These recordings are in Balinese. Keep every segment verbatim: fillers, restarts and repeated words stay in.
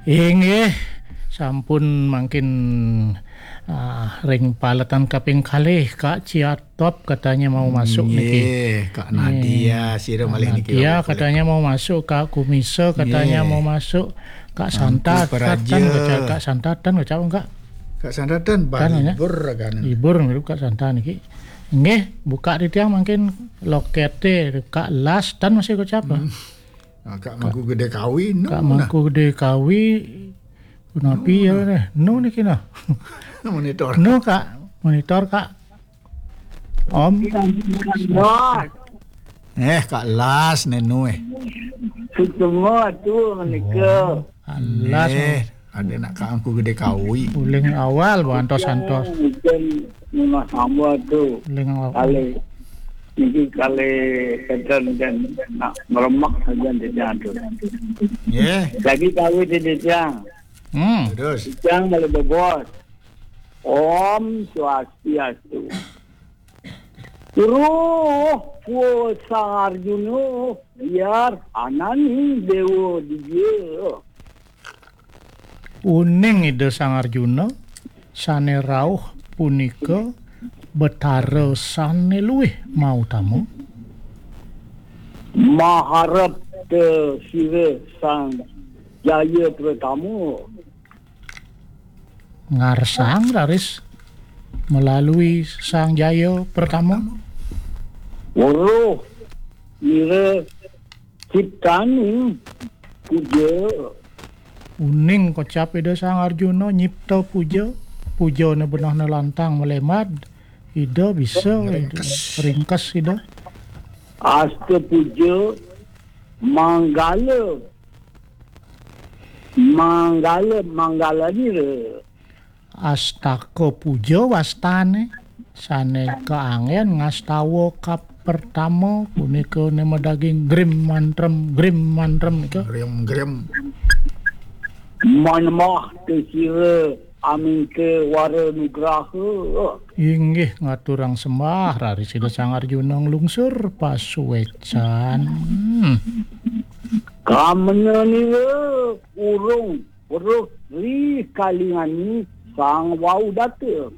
Inggih, sampun mangkin, ah, ring paletan kaping kalih, Kak Ciatop katanya mau masuk niki. Nggih, Kak Nadia, sira Kak malih niki, Nadia katanya mau masuk, Kak Kumisa katanya mau masuk, Kak Santa Tan, Kak Santa Tan, Kak. Kak Santa Tan, Kak. Kak Santa Tan, Tan, ya? Libur kan. Libur niku Kak Santa niki. Nggih, buka titiang mangkin lokete, Kak Las Tan masih kocap. Hmm. Nah, Kak Mangku Gede Kawi, nu Kak nah. Mangku Gede Kawi, punapi ya, nu niki nah. Monitor. Nu, Kak, monitor, Kak. Om. Bos. Eh, Kak Las, nenu, eh. Sutema tu, menika. Oh, Kak Las. Neh, ada nak Kak Mangku Gede Kawi. Uling awal, bantos-antos. Uling memang sama tu. Uling awal. Kali, niki kali keten dan nak meremak saja dia tu. Nggih. Lagi tahu dia, dia. Hmm. Terus. Yang boleh bebos. Om Swastiastu. Roh pua Sang Arjuna, biar ananing dewa dia. Uning Ida Sang Arjuna, sane rauh punika Betara sane luwih mautama. Maharep te sira Sang Jaya Pertama. Ngarsang raris melalui Sang Jaya Pertama. Weruh ira ciptaning puja. Uning kocap Ida Sang Arjuna nyipta puja. Pujane benehne lantang melemat. Ida bisa, ringkes. Ringkes Ida. Asta puja manggala. Manggala, manggala dira. Astaka puja wastane, sane kaanggen ngastawa kapertama punika ne madaging grim mantrem, grim mantrem nika. Grim, grim. Manembah te sira aminta wara nugraha. Inggih ngaturang sembah, raris Ida Sang Arjuna nglungsur pasuecan. Kamena nira urung weruh ri kalingani Sang Wau Data.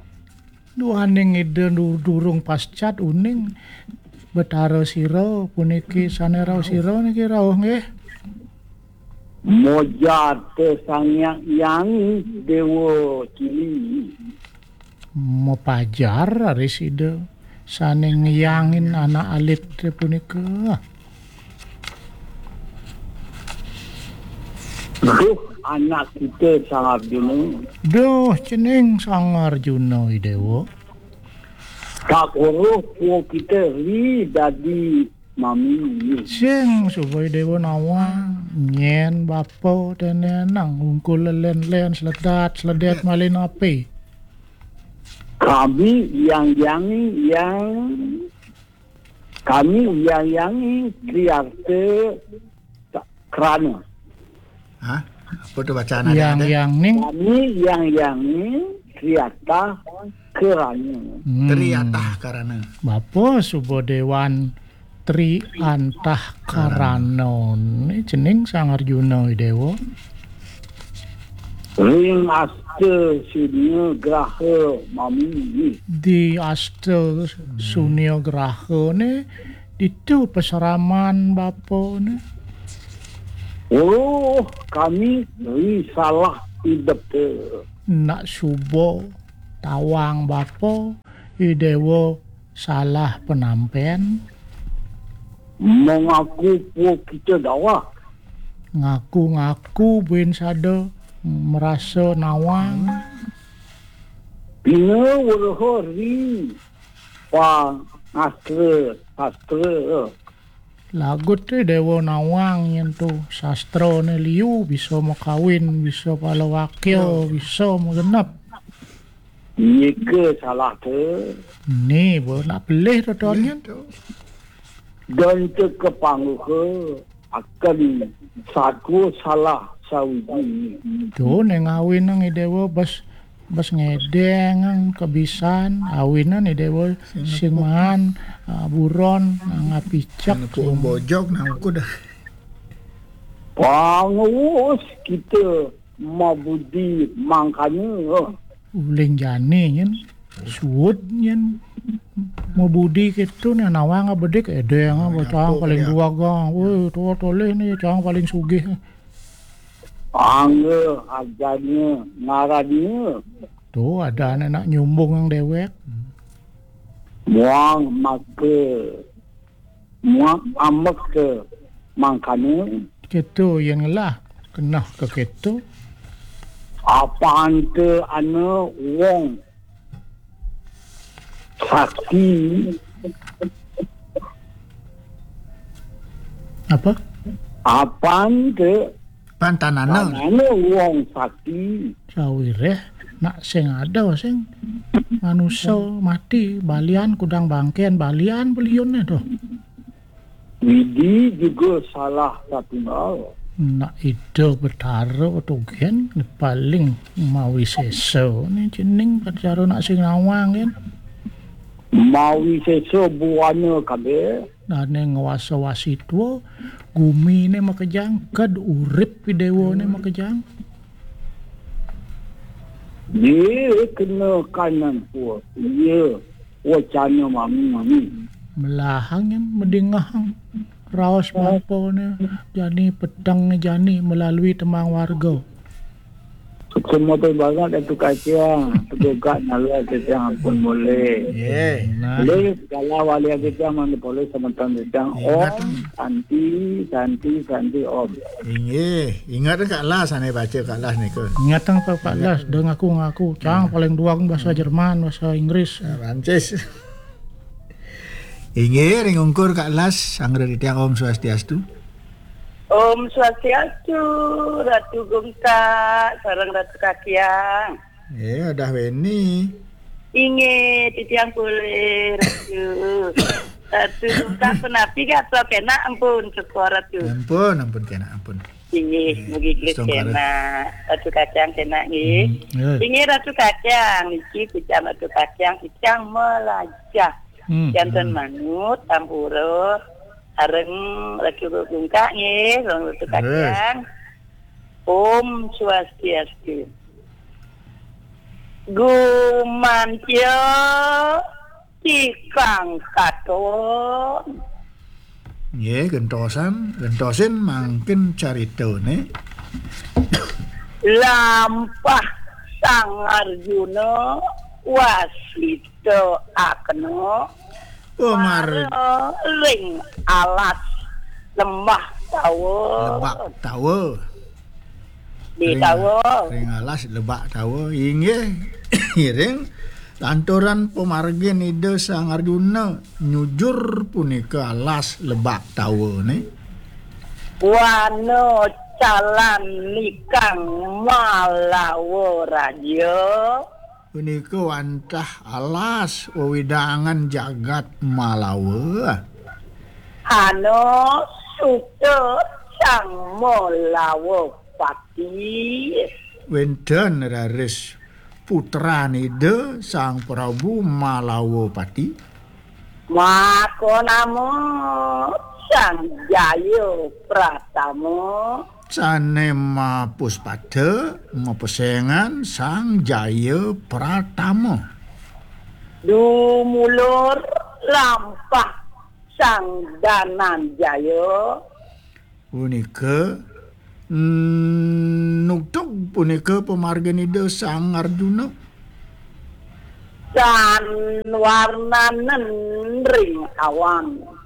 Duaning Ida du-, durung pascat uning Betara sira puniki sane rauh sira niki rauh nggih. Mojar te Sang Hyang Hyang Dewa Cili. Mapajar raris Ida sane ngyangin anak alit punika. Duh, anak kita Sang Arjuna. Duh, cening Sang Arjuna, I Dewa. Tak weruh pua kita ri dadi mami. Sing suba I Dewa nawang, nyen bapa dene nang ungkul len-len, sledat, sledet malin api. Kami yang yang yang kami yang yang Triarte Krana. Hah? Apa tu bacaan ada? Yang yang ning. Kami yang yang ning Triatah Krana. Hmm. Triatah Karana. Bapa suba dewan Tri Antah Karana. Ni cening Sang Arjuna, I Dewa. Ring Asta Sunya Graha mami. Di Asta Sunya Graha ni ditu pasraman bapa ni. Oh, kami ri salah idep te. Nak suba tawang bapa, I Dewa salah penampen. Mengaku pua kita dawah. Ngaku-ngaku buin sada merasa nawang. Bina weruh ri pangastra sastra. Lagut te Dewa nawang yen tu sastrane liu bisa makawin, bisa palawakya, bisa magenep. Nika salah te. Ni, bo, nak pelih to, Ton, yen? Dan te kepangguha akan satua salah sawiji. Tu, neng awinang I Dewa bes, bes ngedeng kebisan, awinan I Dewa sing maan, ah, buron, ah, ngapicek. Sing nepuk bojog, nang ukud dah. Pangwus kita mabudi mangkana. Uling jani nyen, suud nyen, mabudi kéto né nawang bedik édéng, cang paling duagang. Woi, to tolih né cang paling sugih. Angga ajana ngaranna. To adané nak nyumbung yang déwék. Muang maka, muang amek ka mangkana. Kéto yén ngelah keneh ka kéto. Apanta ana wong sakti. Apa? Apanta Pantanana. Tanana wong sakti. Sawiréh nak sing ada sing manusa mati, balian kudang bangkén, balian beliunné to. Widi juga salah satunggal. Nak Ida Betara to gén paling mawisésa né cening, cara nak sing nawang gén. Mawisésa buana kabéh. Dané ngwasa wasitwa, guminé makejang, ked urip déwané makejang. Dia kena kanan pua. Iya, wacana mami-mami. Melahang yang medingahang. Raos mampané jani, petengné jani melalui tembang warga. Semua banget itu kacang, tegogak nala kacang ampun boleh. Ye. Nah. Boleh segala wali kacang, mana boleh semeton kacang. Ingat. Om, santi, santi, santi, om. Inggih, ingat Kak Las, ané baca Kak Las nika. Ingat apa Kak Las, dah ngaku-ngaku, cang paling duang bahasa Jerman, bahasa Inggris. Ah, Prancis. Inggih, ring ungkur Kak Las, sanggra titiang Om Swastiastu. Om Swastiastu, Ratu Gungkak, sareng Ratu Kakiang. Eh, udah Weni. Inggih, titiang pulih, Ratu. Ratu Gungkak, punapi gatra kénak ampun, syukur, Ratu. Ampun, ampun kénak, ampun. Inggih, mugi gelis kénak. Ratu Kakiang kénak, nggih. Hmm, nggih. Inggih, Ratu Kakiang, niki titiang Ratu Kakiang, titiang melajah. Hmm, janten hmm. Manut, tampura, sareng Ratu Gungkak, nggih, sareng Ratu Kakiang. Om Swastiastu. Gumantya tikang katon. Nggih, gentosan, gentosin mangkin caritané. Lampah Sang Arjuna wasita akena. Oh, mar- mara ring alas Lembah Tawa. Lebak Tawa. Di ring, Tawa. Ring alas Lebak Tawa. Inggih, ngiring lantaran pamargin Ida Sang Arjuna nyujur punika alas Lebak Tawa né. Wana calan nikang Malawa Raja. Punika wantah alas wewidangan jagat Malawa. Ana suta Sang Malawa Pati. Wénten raris putran Ida Sang Prabu Malawa Pati. Maka nama Sang Jaya Pratama. Sané mapuspada, mapesengan Sang Jaya Pratama. Dumulur lampah Sang Dananjaya. Punika, mm, nugtug punika pamargin Ida Sang Arjuna. Tan warnanen ring awan.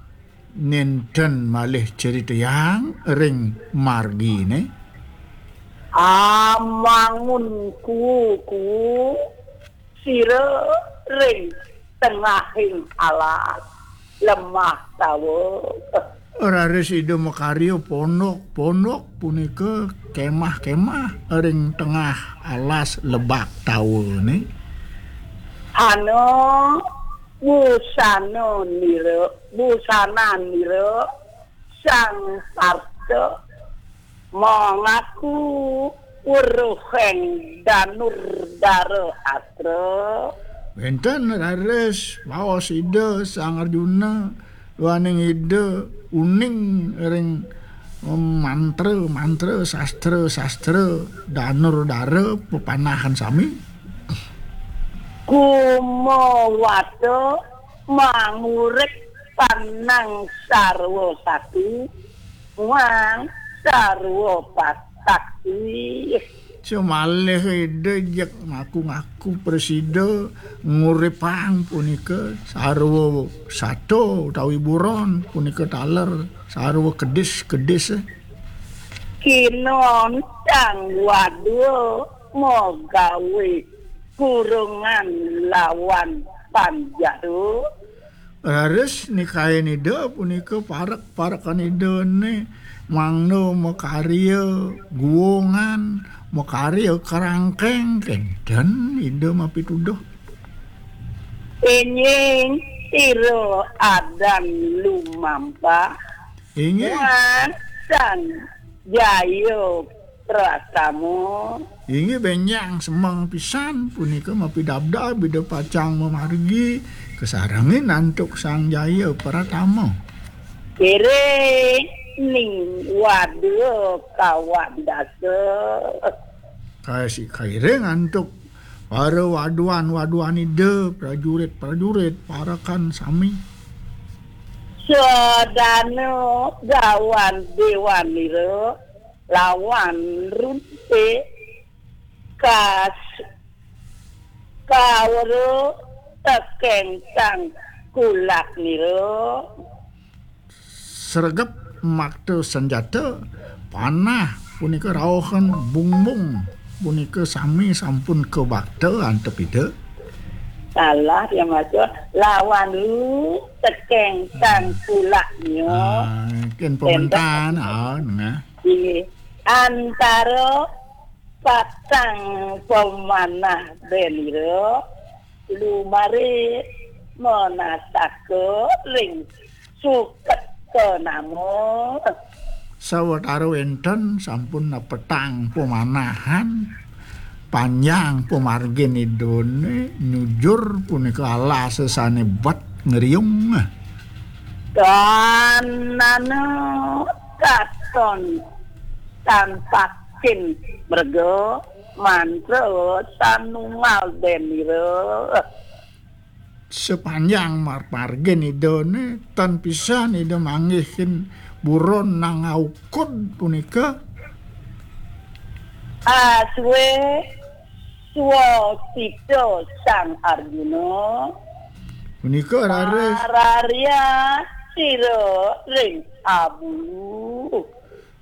Nénten malih critayang ring marginé. Amangun kuku sira ring tengahing alas Lemah Tawa. Raris Ida makarya pondok-pondok punika kémah-kémah ring tengah alas Lebak Tawa né. Ana busana nira, busana nira Sang Parta mangaku weruhing Danur Dara Astra. Wénten raris baos Ida Sang Arjuna, duaning Ida uning ring Mantra, mantra, sastra, sastra, danur, dara, pepanahan sami. Kumawata mangurik panang sarwa satu, muang sarwa pasakti. Semalih Ida jeg ngaku-ngaku prasida nguripang punika sarwa sato utawi buron punika taler sarwa kedis-kedis. Kinontang wadua magawe kurungan lawan panjadu. Raris nikain Ida punika parek-parekan Idane mangda makarya guungan, makarya kerangkeng, kenten Ida mapituduh. Enjing sira adan lumampah. Inggih. Muang Sang Jaya Pratama. Inggih, benjang semeng pisan punika mapidabdab Ida pacang mamargi kasarengin antuk Sang Jaya Pratama. Kere ning wadua kawan dasa. Kaisi kairing antuk para waduan-waduan Ida, prajurit-prajurit, parekan sami. Sadana gawan dewanira lawan runtik kas kawara tekeng sang kulaknira. Sregep makta senjata, panah punika rauhan bungbung punika sami sampun kabakta antuk Ida. Salah ya maksud lawan lu tekeng sang kulaknya. Ah, ken pementan, ah, nengah. Di antara patang pemanah benira lumare menasaka ring suket ke nama. Sawatara wenten sampun nepetang pemanahan panjang pamargin Idane nyujur punika alase sane bet ngriung. Kanana katon tanpakin merga mantra sanungal denira. Sepanjang mar-, margin Idane, tan pisan Ida manggihin buron nang aukud punika. Aswe swasita Sang Arjuna. Punika raris. Mararya sira ring abu.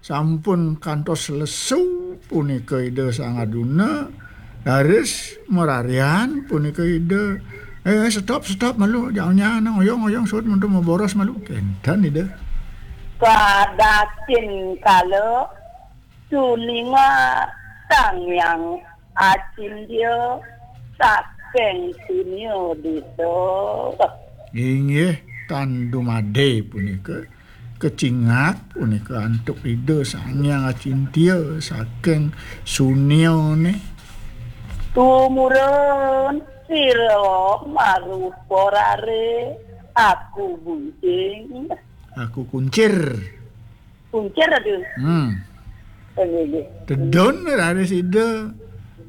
Sampun kantos lesu punika Ida Sang Arjuna, raris mararian punika Ida. Eh, stop, stop malu, jangan, jangan, oyong, oyong, suud mundur maboros malu. Kenten Ida. Kadasin kala tuninga Sang Hyang Acintya saking sunia desa. Inggih, tan dumade punika. Kecingak punika antuk Ida Sang Hyang Acintya saking suniane. Tumurun sira marupa rare, aku buncing. Aku kuncir. Kuncir, aduh. Hmm. Inggih, inggih. Tedun raris Ida.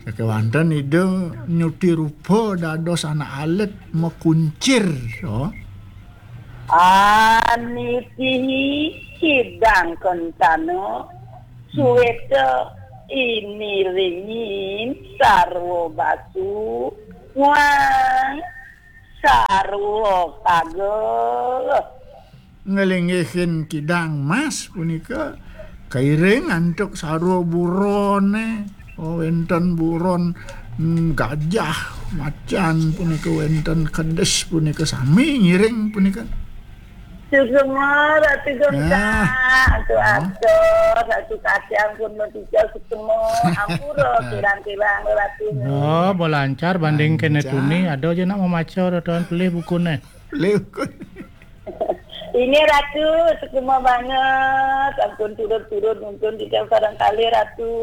Sakewanten Ida nyuti rupa dados anak alit makuncir. Oh. Anitihi kidang kentana, suweta iniringin sarwa basu, wang sarwa kaga. Nglinggihin kidang mas punika kairing antuk sarwa burone. Oh, wenten buron, mm, gajah, macan punika, wenten kedis punika, sami ngiring punika. Suksma, Ratu Gongkang. Ya. Atur atur, Ratu Kacang pun mentiga suksma. Ampura kirang-kirang, Ratu. Oh, bo lancar banding kene tuni, ada aja nak memaca, Ratu, pelih bukune. Pelih bukune. Ini Ratu, suksma banget. Ampun turut-turut nonton di barangkali, Ratu.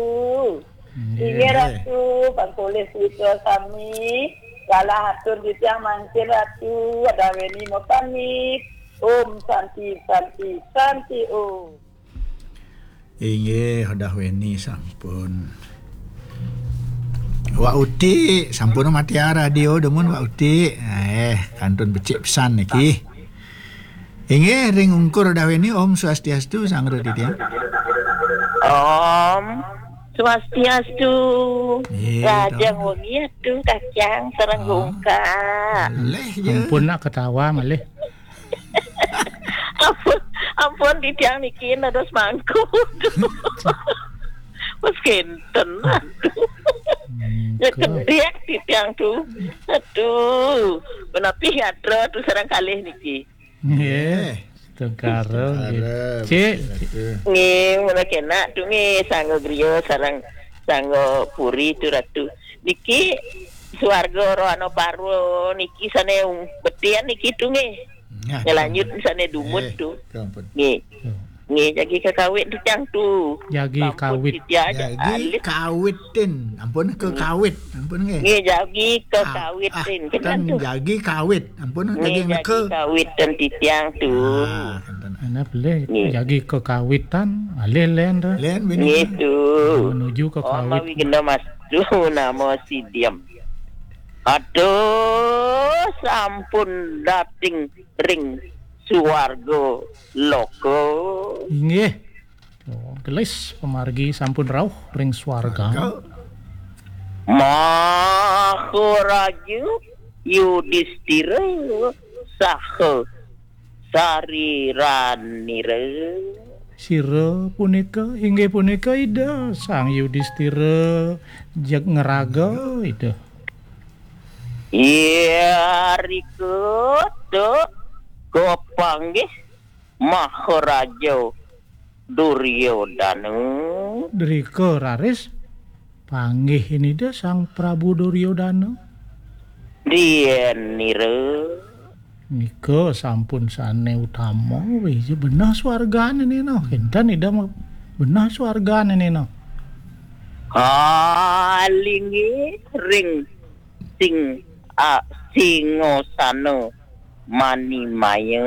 Inggih, Ratu, pangkulih putra sami, galah atur titiang mangkin Ratu, adaweni mapamit. Om Santi, Santi, Santi Om. Inggih, Dah Weni sampun. Wak Uti, sampun mati radio demen Wak Uti. Eh, kantun becik pesan niki. Inggih, ring ungkur Dah Weni, Om Swastiastu, sanggra titiang. Om Swastiastu. Iya, Rajang dong. Wengi atu, Kakang, sareng Ah. Ungkar. Leh, ya. Ampun nak ketawa malih. Ampun, ampun, titiang niki dados mangku. Wes kenten. Aduh. Mangku. Ya kedek titiang tu. Aduh. Menapi gatra tu sareng kalih niki. Nggih. Tengkara, nggih. Tengkara, Cik. Betul. Nggih, mula kenak tu nggih, sangga griya sareng sangga puri tu, Ratu. Niki swarga rohana parwa niki sane ung-, betian niki tu nggih. Nah, ngelanjut sane dumut eh, tu. Ampun. Nggih. Nggih, jagi kakawit tu tiang tu. Jagi sampun kawit. Titiang aja jagi alit. Kawitin. Ampun ke kawit. Ampun nggih. Nggih, jagi ke ah, kawitin. Ah, kita tu. Jagi kawit. Ampun nggih, jagi jagi neke. Kawitin titiang tu. Ah, enten. Ana boleh nggih. Jagi ke kawitan, alih len tu. Len bini. Nggih tu. Menuju ke kawit. Om mawi gena mas tu nama si Diam. Aduh, sampun dating ring suwarga loka. Inggih. Oh, gelis pamargi sampun rauh ring suwarga. Suwarga. Maharaja Yudistira saha sariranira. Sira punika inggih punika Ida Sang Yudistira jeg ngeraga Ida. Iya, rika, tu, kapanggih Maharaja Duryodana. Drika raris panggih Ida Sang Prabu Duryodana. Dianira. Nika sampun sane utama, wih, benah swargane nena. Kinten Ida ma-, benah swargane nena. Alingi ring sing, a, singosana manimaya.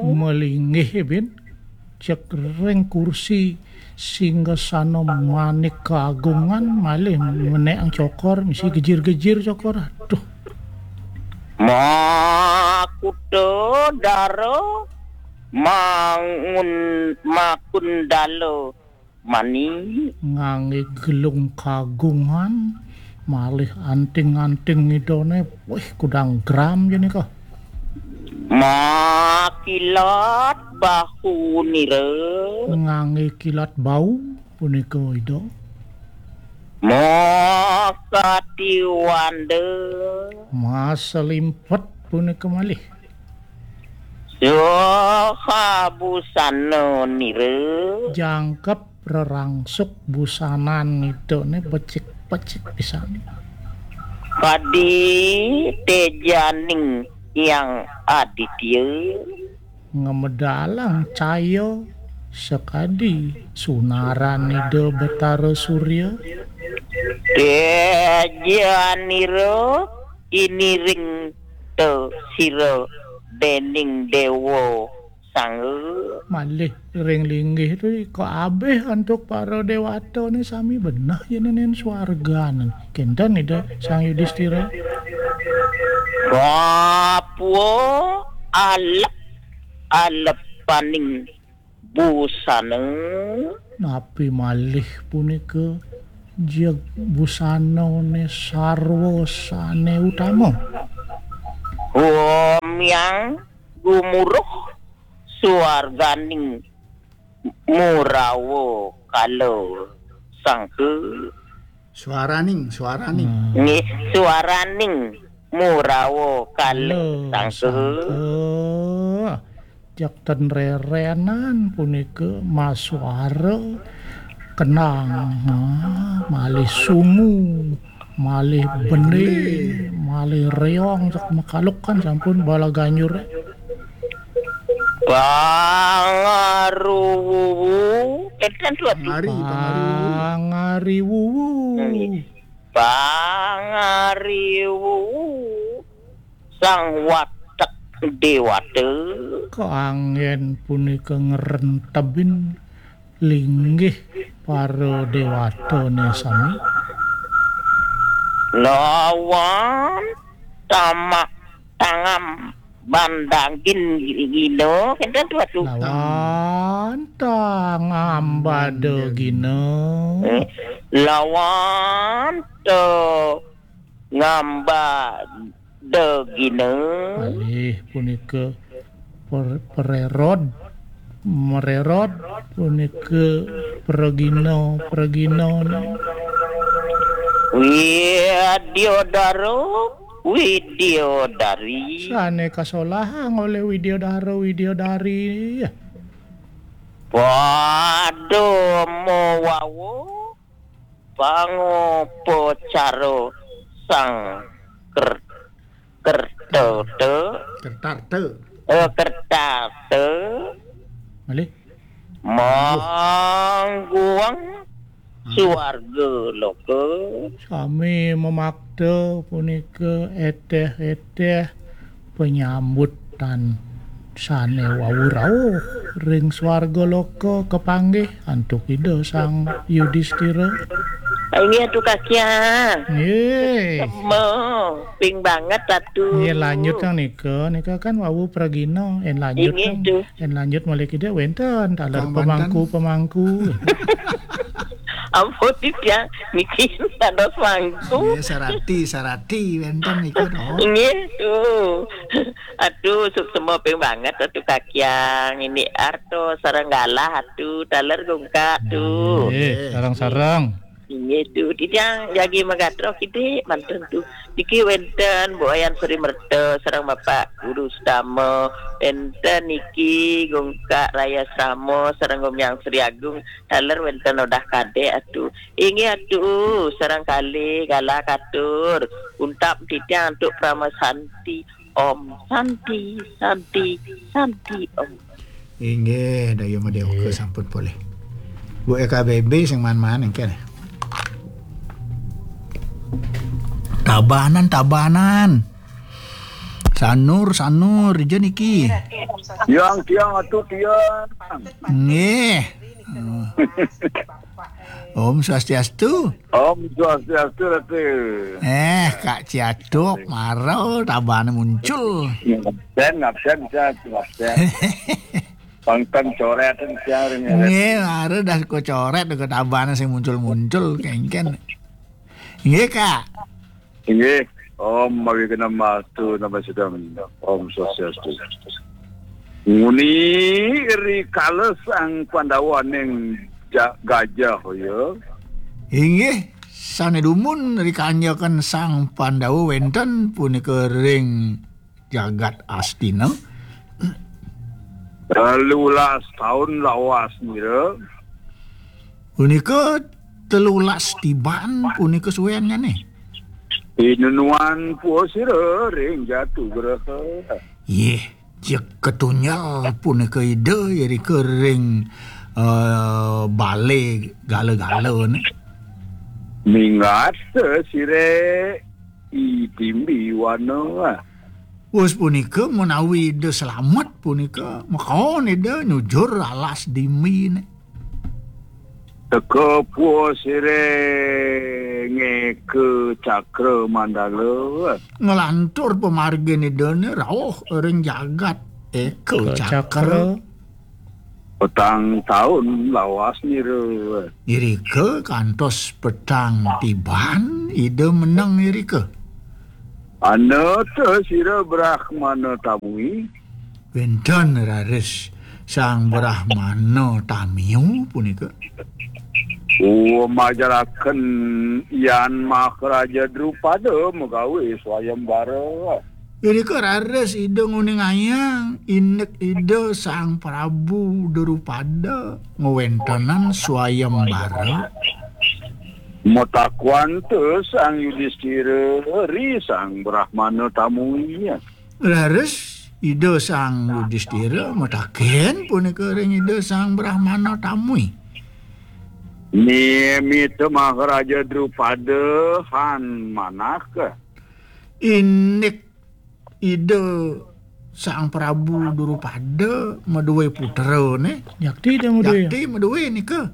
Malinggih, bin. Cek ring kursi singgasana manik kagungan, malih menek cokor, misi gejir-gejir cokor. Aduh. Makuta dara mangun makundala mani. Ngangge gelung kagungan, malih anting-anting Idane, wih, kudang gram jenika. Makilat bahu nira. Ngangge kilat bau punika Ida. Makatiwanda. Maselimpet punika malih. Saha busana nira. Jangkep rerangsuk busanan Idane becik-becik pisan. Kadi tejaning Hyang Aditya. Ngemedalang caya sakadi sunaran Ida Betara Surya. Tejanira iniring te sira dening dewa sangga. Malih ring linggih tu ika abih antuk para dewatane sami benah yenenen swargan. Kinten Ida Sang Yudistira. Kapua alep-alepaning busana. Napi malih punika jeg busanane sarwa sane utama. Humyang gumuruh suarganing murawa kala sangka. Suaraning, suaraning. Hmm. Nggih, suaraning murawa kala sangka. Sangka. Jak ten rerenan punika masuara kenang, ha, malih sungu, malih bending, malih reong, sak makaluk kan sampun bala ganjur. Pangaruwu. Enten suatu. Pangari, pangariwuwu. Pangariwuwu. Nggih. Pangariwuwu. Sang Watek Dewata. Kaanggen punika ngrentebin linggih para déwatané sami. Lawan tamak tangam bandagin gino, kénten tuh, atuh. Lawan tangam badagina. Eh, lawan tangam badagina. Malih punika per-, pererod, mererod, punika pregina, pregina. Widyodara, Widyodari. Sané kasolahang olih Widyodara, Widyodari. Pada mawawa pangupacara sang ker-, kertata. Kertarta. Eh, kertarta. Malih? Mangguang Hmm. Suarga loka. Sami mamakta punika eteh-eteh penyambutan sané wau rauh ring swarga loka kapanggih antuk Ida Sang Yudistira. Inggih, Atu Kakiang. Nggih. Sema, ping banget, Atu. Nggih, lanjut kang nika, nika kan wau pragina, en lanjut Inggih, kang, Tu. En lanjut malih kida wénten taler Kang banten. Pemangku-pemangku. Ampun, Tiang, niki dados mangku. Nggih, sarati, sarati wénten niku, no. Inggih, Tu. Atu, suksema ping banget, Atu Kakiang. Ini arto sareng galah, Atu, taler gungkak, Tu. Nggih, sareng-sareng. Inggih, Tu. Titiang jagi magatro kidik manten, Tu. Niki wénten Bu Wayan Sri Merta sareng Bapak Guru Sutama, wénten niki Gungkak Raya Srama sareng Gumiang Sri Agung, taler wénten Odah Kadék, Atu. Inggih, Atu, sareng kalih galah katur. Untap titiang antuk Parama Santi. Om Santi, Santi, Santi Om. Inggih, Dayu Madéwaka. Inggih. Sampun polih. Bu E K B B sing man-man engken. Tabanan, Tabanan. Sanur, Sanur, dija niki. Tiang, Tiang, Atu Tiang. Nggih. Om Swastiastu. Om Swastiastu, Ratu. Eh, Kak Ciatuk, mara Tabanan muncul. Ngabsen, ngabsen, Cak, ngabsen. Pangkeng corét, Cak, ring. Nggih, mara dah ko corét, ko Tabanan sing muncul-muncul, kéngkén. Nggih, Kak. Inggih, Om Awighnam Astu Namo Siddham. Om Swastiastu. Nguni rikala Sang Pandawa ning Ja-, Gajah, ya. Inggih, sané dumun rikanjakan Sang Pandawa wénten punika ring jagat Astina. Telulas taun lawas nira. Punika telulas tiban punika suéngané. Pinunuan puwa sira ring Jatu Graha. Yeh, jeg katunjel punika Ida irika ring, eh, balé gala-galané. Minggat sira I Dimbi Wana. Wus punika menawi Ida slamet punika, makaon Ida nyujur alas Dimbiné. Teka puwa sira ngéka Cakra Mandala. Nglantur pamargin Idané rauh ring jagat Éka Éka Cakra. Cakra. Petang taun lawas nira. Irika kantos petang tiban Ida meneng irika. Anata sira Brahmana tamui. Wénten raris Sang Brahmana tamiu punika. Uwa majaraken Yan Maharaja Drupada magawé swayembara. Irika raris Ida nguningayang indik Ida Sang Prabu Drupada ngwéntenan swayembara. Matakwanta Sang Yudistira ri Sang Brahmana tamui. Raris Ida Sang Yudistira mataken punika ring Ida Sang Brahmana tamui. Mimita Maharaja Drupada han manah ka. Indik Ida Sang Prabu Drupada madué putra né. Jakti dia madué. Jakti madué nika.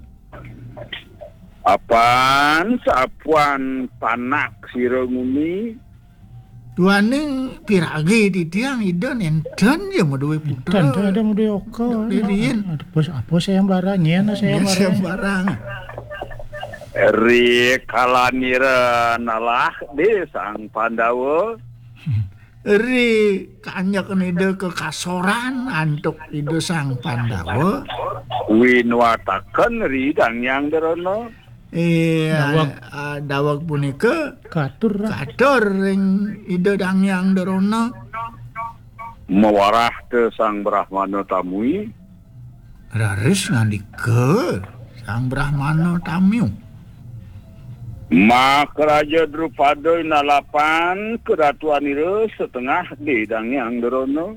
Apan sapuan panak sira nguni. Duaning piragi titiang Ida nénten ya madué putra. Nénten, ada madué oka. Riin. Ada apa, apa sayembara, nyén sayembara. Sayembara. Ri kalanira nalah di Sang Pandawa. Ri kanyekan Ida kekasoran antuk Ida Sang Pandawa. Winuataken ri Dang Hyang Drona. Iya, daweg. Ah, daweg punika katur, katur ring Ida Dang Hyang Drona. Mawarah te Sang Brahmana tamui. Raris ngandika Sang Brahmana tamiu. Maharaja Drupada inalapan keratuanira setengah di Dang Hyang Drona.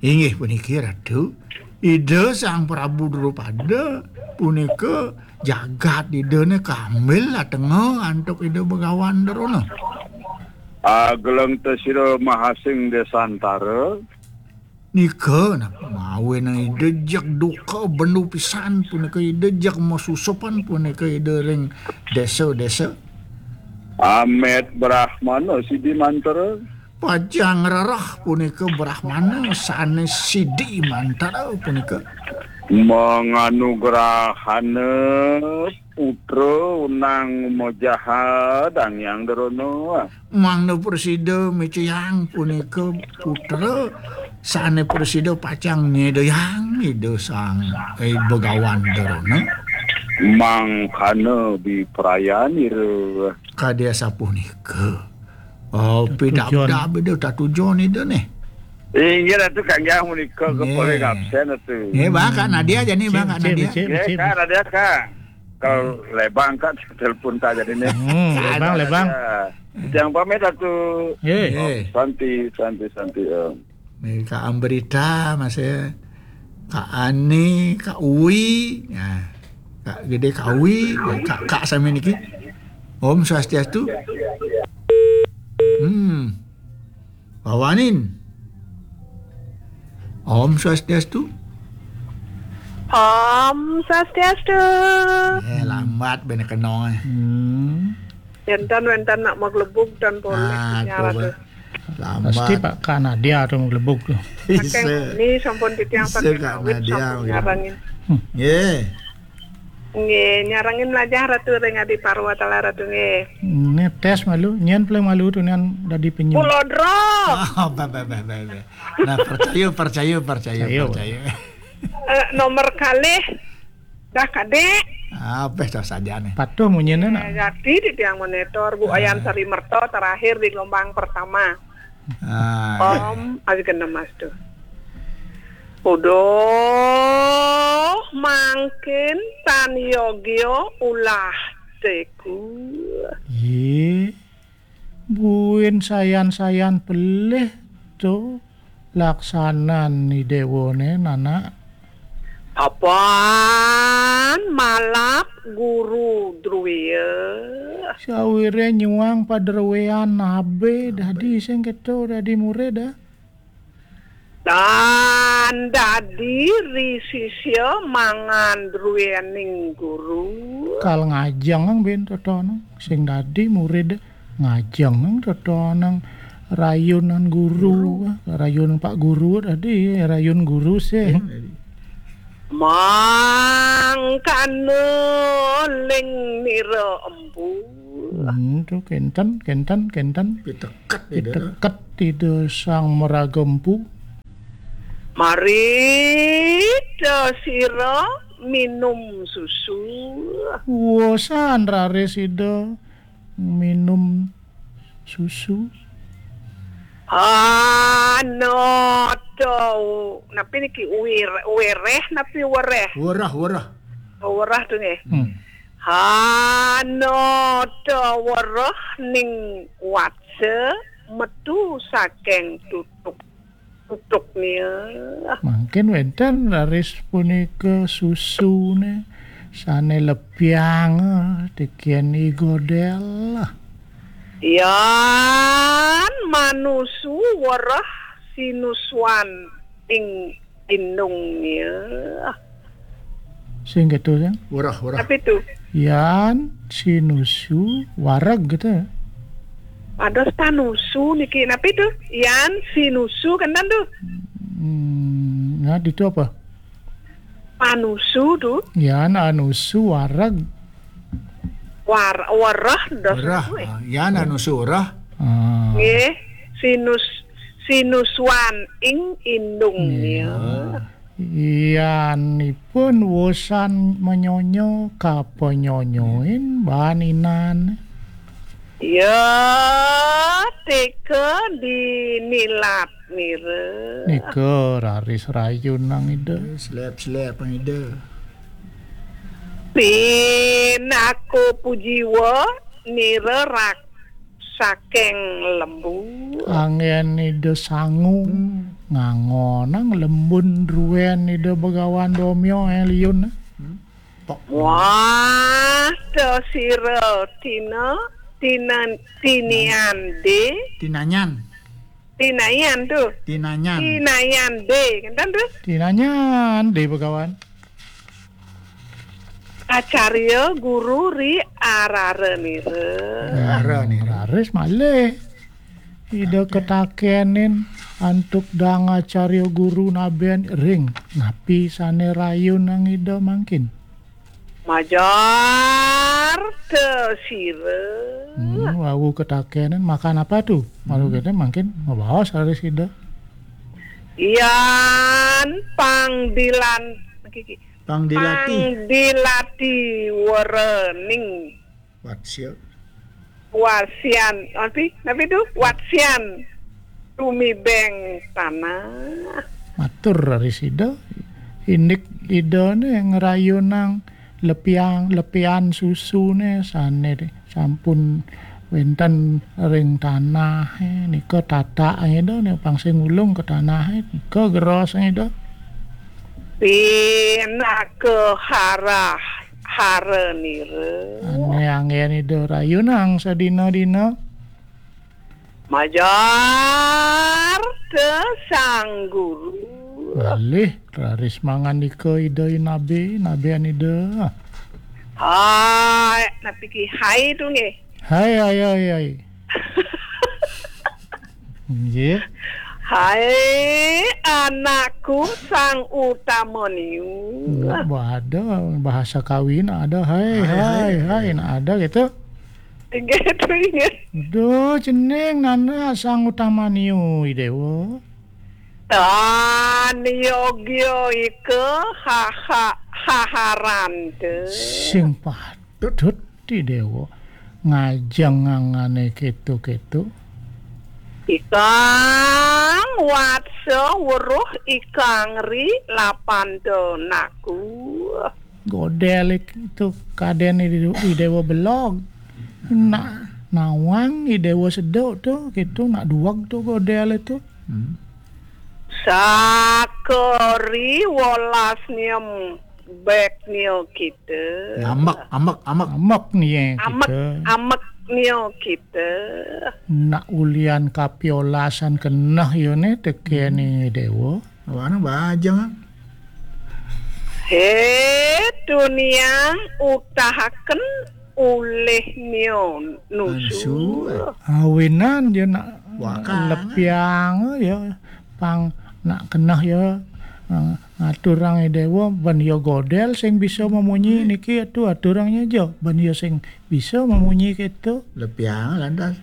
Inggih puniki, Ratu. Ida Sang Prabu Drupada punika jagat Idané kambil atenga antuk Ida Begawan Drona. Ageleng te sira mahasing desantara. Nika napa mawin Ida jeg duka bendu pisan punika Ida jeg masusupan punika Ida ring desa-desa. Amet Brahmana sidi mantra. Pacang rereh punika Brahmana sané sidi mantra punika. Manganugrahana putra unang majaha Dang Hyang Drona. Mangda prasida micayang punika putra sané prasida pacang nyedayang Ida Sang, eh, Begawan Drona. Mangkana biprayanira. Kadi asapunika. Oh, pidabdab Ida tatujon Ida nih. Inggih Ratu, kanggah menika. Nggih. Kepaling absen Ratu. Nggih, Bang, Kak Nadia jani, Bang, Kak Nadia. Nggih, Kak Nadia, Kak. Kalau lebang, Kak, telepon tak jadinya. Hmm, lebang, lebang. Yang pamit Ratu. Nggih. Nggih. Santi, santi, santi, Om. Nih, Kak Ambrita, masih Kak Ani, Kak Uwi, ya. Kak Gede, Kak Uwi, Kak, Kak sami niki. Om Swastiastu. Hmm. Bawanin. Om Swastiastu. Om Swastiastu. Eh, lambat bene kenong, eh. Hmm. Wénten, wénten nak maglebug dan polih. Ah, nyaran coba. Lambat. Pasti Pak Kak Nadia tuh maglebug tuh. Saking ini sampun titiang saking Kak awit Nadia, sampun gitu. Nyarengin. Hmm. Nggih. Nggih, nyarengin lajah Ratu ring Adi Parwa Tala Ratu nggih. Ini tes malu, nyén paling malu tuh nyén dadi penyu. Pulau Dro. Ah, bah, bah, bah, bah, bah. Nah, percaya, percaya, percaya, percaya. Eh, nomor kalih. Dah kadek. Ah, bes dah saja nih. Patuh munyiné nak. Eh, jadi di tiang monitor, Bu Ayan Sari Merto terakhir di gelombang pertama. Ah, iya. Om, aja kena mas tuh. Uduh, mangkin tan yogyo ulah teku. Yé, buin sayan-sayan pelih to laksanan ni déwané, nanak. Apan malap guru druya. Sawiré nyuang padruéan abé dadi sing kéto dadi murid, ah. Dan dadi ri sisya mangan druéning guru. Kal ngajeng bén totonang sing dadi murid ngajeng totonang rayunan guru, rayun Pak Guru dadi rayun guru sih. Mangkana ling nira empu. Hmm, tuh kénten, kénten, kénten. Piteket Ida. Piteket Ida Sang Maraga Empu. Mari ta sira minum susu. Wosan raris Ida minum susu. Anata, napi niki wir-, wereh napi wereh? Wereh, wereh. Oh, wereh tuh nggih. Hmm. Anata wereh ning watsa metu saking tutuk. Tutuk nia. Mangkin wénten raris punika susuné sané lepiang, eh, tikén I Godél. Yan manusu wereh sinusuan ing indungnya. Sing gitu, sing. Wurah, wurah. Tapi tuh, yan sinusu wareg gitu. Ada panusu niki. Tapi tuh, yan sinusu kan tuh. Hmm, nah, itu apa? Panusu tuh. Yan anusu wareg. War, warah dos. Warah, itu, eh. Ah, yan anusu warah. Ah. Nggih, sinus, sinusuan ing indung. Iya. Iyanipun wusan menyonyo kapanyonyoin baninan. Ya, teka dinilat nira. Nika raris rayun nang ida. Slep-slep nang ida. Pinako pujiwa nira rak saking lembu. Anggen ida sangu. Hmm. Ngangonang lembun druen ida Begawan Domyo, eh, liun. Hmm. Wah, to sira tina, tinan, tinian de. Tinanyan. Tinayan tuh. Tinanyan. Tinayan de, kan tuh? Tinanyan de, Begawan. Acarya guru ri arara nira. Arara nira. Raris malih. Ida ketakenin antuk dang acarya guru naben ring. Napi sane rayun nang ida mangkin? Majar te sira. Hmm, wau ketakenin makan apa tuh? Malu kita mangkin mabaos raris ida. Yan pangdilan, Pangdilati. Pangdilati werening. Watsya. Wasian, napi, napi tu? Watsian. Tumibeng tanah. Matur raris ida. Indik ida ne ngrayunang lepiang, lepian susu ne sane sampun wenten ring tanah, eh, nika tatak ida ne pang sing ulung ke tanah, eh, nika geros ida. Pinaka harah hara nira. Ane anggen ida rayunang sadina-dina. Majar te sang guru. Malih raris mangandika ida inabe, inabean ida. Hai, napi ki hai tu nggih? Hai, hai, hai, hai. Nggih. Hai, anakku sang utama niu. Wah, ada bahasa kawin ada, hai, hai, hai, hai, hai, nah, ada gitu. Inggih, tu inggih. Duh, cening nana sang utama niu, Idewa. Tan yogya ika haha haharan te. Sing patut Idewa ngajeng angane keto-keto. Ikang watsa weruh ikang ri lapanta naku. Godel itu kaden Ide-, Idewa belog. Nak nawang Idewa sedok tu, gitu, nak duweg tu godel itu. Hmm. Sakari wolas niem bek nio kita. Amek, amek, amek. Amek nie kita. Amek, amek nio kita. Nak ulian kapiolasan keneh yo ne teke ni Dewa. Wana bajang. He, dunia utahaken ulih nio nusu. Nusu, eh. Awinan yo nak lepiang yo pang nak keneh yo, eh, ngaturang Dewa ben yo godel sing bisa memunyi niki atu aturang nyo jo ben yo sing bisa memunyi keto. Lepiang lantas.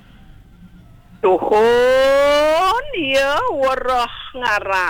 Tuhun yo weruh ngaran.